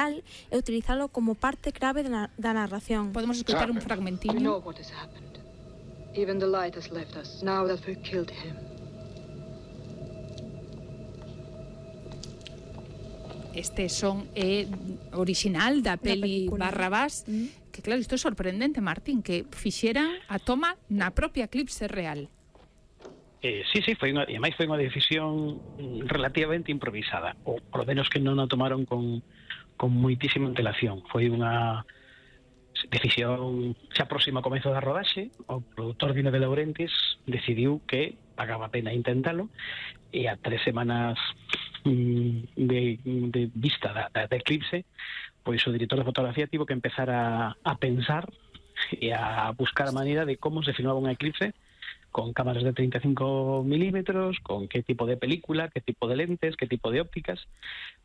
real e utilizalo como parte clave da narración. Podemos escoitar un fragmentinho. We know what has happened. Even the light has left us now that we've killed him. Este son original da peli Barrabás, que claro, isto é sorprendente, Martín, que fixeran a toma na propia Eclipse real. Sí, foi unha decisión relativamente improvisada, ou polo menos que non a tomaron con moitísima antelación. Foi unha decisión xa próxima ao comezo da rodaxe. O produtor Dino de Laurentiis decidiu que pagaba a pena intentalo, e a 3 semanas de vista da Eclipse, pois o director de fotografía tivo que empezar a pensar e a buscar a maneira de como se filmaba unha eclipse con cámaras de 35 milímetros, con qué tipo de película, qué tipo de lentes, qué tipo de ópticas,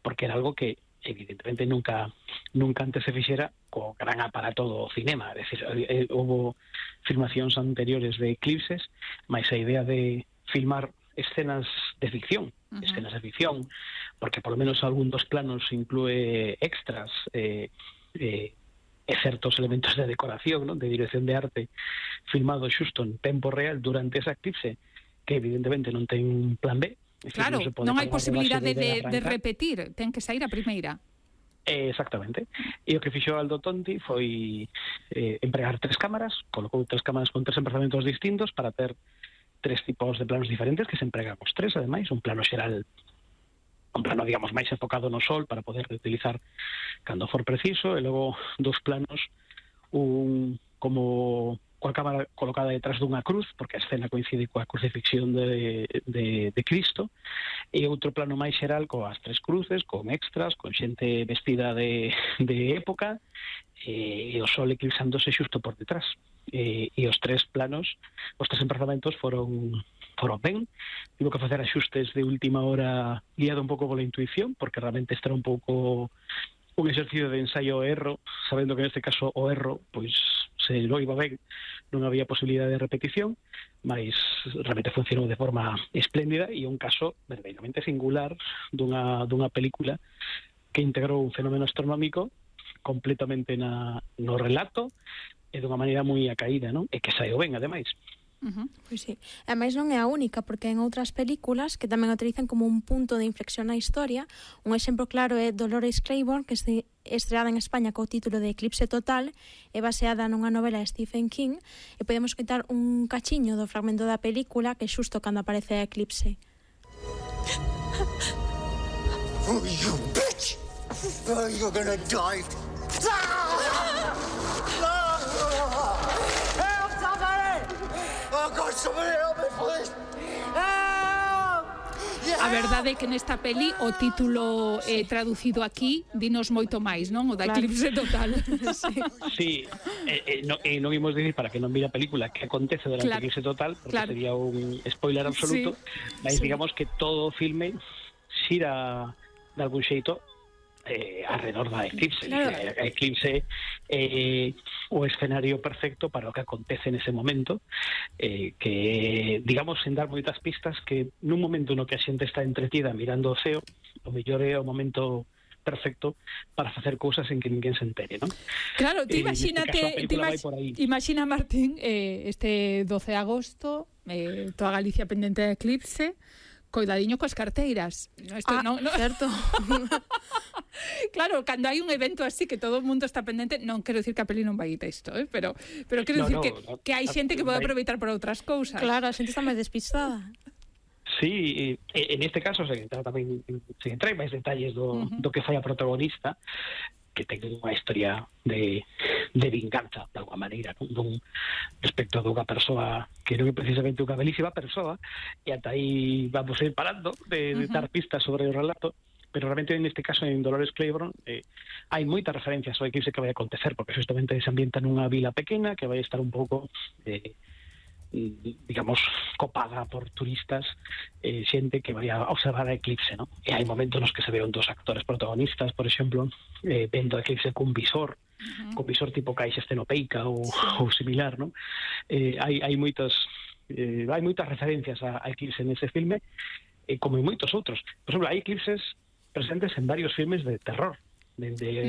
porque era algo que evidentemente nunca antes se fixera co gran aparato do cinema. É dicir, houve filmacións anteriores de eclipses, mais a idea de filmar escenas de ficción, porque por lo menos algún dos planos inclúe extras, certos elementos de decoración, ¿no?, de dirección de arte, filmado xusto en tempo real durante esa eclipse, que evidentemente non ten plan B. Claro, non hai posibilidade de repetir, ten que sair a primeira. Exactamente. E o que fixo Aldo Tonti foi empregar 3 cámaras, colocou 3 cámaras con 3 emplazamentos distintos para ter 3 tipos de planos diferentes, que se empregan os 3, ademais, un plano xeral, un plano, digamos, máis enfocado no sol para poder utilizar cando for preciso, e logo 2 planos, un como coa cámara colocada detrás dunha cruz, porque a escena coincide coa crucifixión de Cristo, e outro plano máis xeral coas 3 cruces, con extras, con xente vestida de época, e o sol eclipsándose xusto por detrás. E os 3 planos, os 3 emprazamentos foron ben. Tivo que facer axustes de última hora, guiado un pouco pola intuición, porque realmente este era un pouco un exercicio de ensaio e erro, sabendo que neste caso o erro, pois se lo iba ben, non había posibilidade de repetición, mas realmente funcionou de forma espléndida, e un caso verdadeiramente singular dunha película que integrou un fenómeno astronómico completamente no relato, e dunha maneira moi acaída, non? E que saio ben, ademais. Pois sí. Ademais non é a única, porque en outras películas que tamén utilizan como un punto de inflexión na historia, un exemplo claro é Dolores Claiborne, que é estreada en España co título de Eclipse Total, é baseada nunha novela de Stephen King, e podemos escoitar un cachiño do fragmento da película que xusto cando aparece a eclipse. Oh, you bitch! Oh, you're gonna die! Help, somebody! Oh, God, somebody help me, please! Help! A verdade é que nesta peli o título traducido aquí dinos moito máis, non? O da Eclipse Total. Sí, non imos dicir para que non mire a película que acontece durante Eclipse Total, porque sería un spoiler absoluto, mas digamos que todo o filme xira de algún xeito alrededor da eclipse. Claro. A eclipse o escenario perfecto para o que acontece nese momento, que, digamos, sen dar moitas pistas, que nun momento no que a xente está entretida mirando o ceo, o mellor é o momento perfecto para facer cousas en que ninguén se entere, non? Claro, ti imagínate, imagina, Martín, este 12 de agosto, toda Galicia pendente de eclipse, coidadiño coas carteiras. Certo. Claro, cando hai un evento así que todo o mundo está pendente, non quero dicir que a peli non vai isto, pero quero dicir que hai xente que pode aproveitar para outras cousas. Claro, a xente está máis despistada. Sí, en este caso se entra en máis detalles do que fai a protagonista, que ten unha historia de vinganza, de alguma maneira, non? Respecto a dunha persoa que non é precisamente unha belísima persoa, e ata aí vamos a ir parando de dar pistas sobre o relato, pero realmente neste caso en Dolores Claiborne hai moitas referencias ao eclipse que vai acontecer, porque justamente se ambienta nunha vila pequena que vai estar un pouco digamos, copada por turistas, xente que vai a observar a eclipse, ¿no? E hai momentos nos que se veon dos actores protagonistas, por exemplo, vendo a eclipse cun visor tipo caixa estenopeica ou similar, ¿no? Hai moitas referencias a eclipse nese filme, como en moitos outros. Por exemplo, hai eclipses presentes en varios filmes de terror, dende